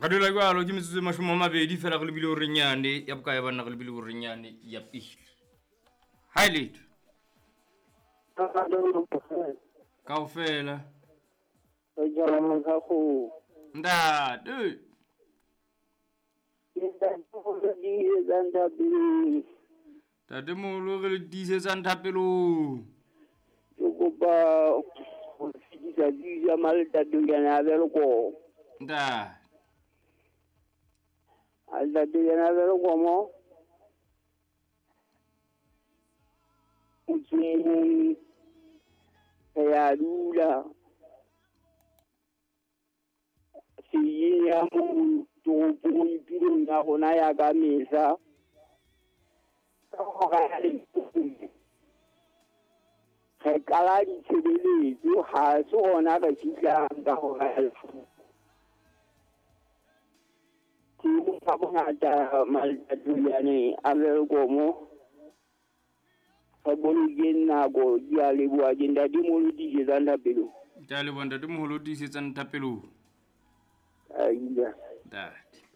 Re dula jwalo ke metsotso e 20 fela re lebile horeng yane ya bokae banna, re lebile horeng yane ya pele. Ha e letho. Kaofela. Ntate. Ntate moholo re le tiisetsang thapelong. Ke kopa ho fetisa tsebiso ya Maltatolana a Welkom. Ntate. Maltatolana a Welkom. Motseng re a dula. Seyeng ya moo toropong tulong ya rona ya ka mehla. Ka hora ya leshome. Re qala ditshebeletso, ha se hona re fihlang ka hora ya leshome. Ke ka bongata Maltatolana a Welkom. Re bolokeng nako, ke a leboha, ke ntatemoholo tiisetsang thapelong. Ke a leboha ntatemoholo tiisetsang thapelong. Aida. Ntate.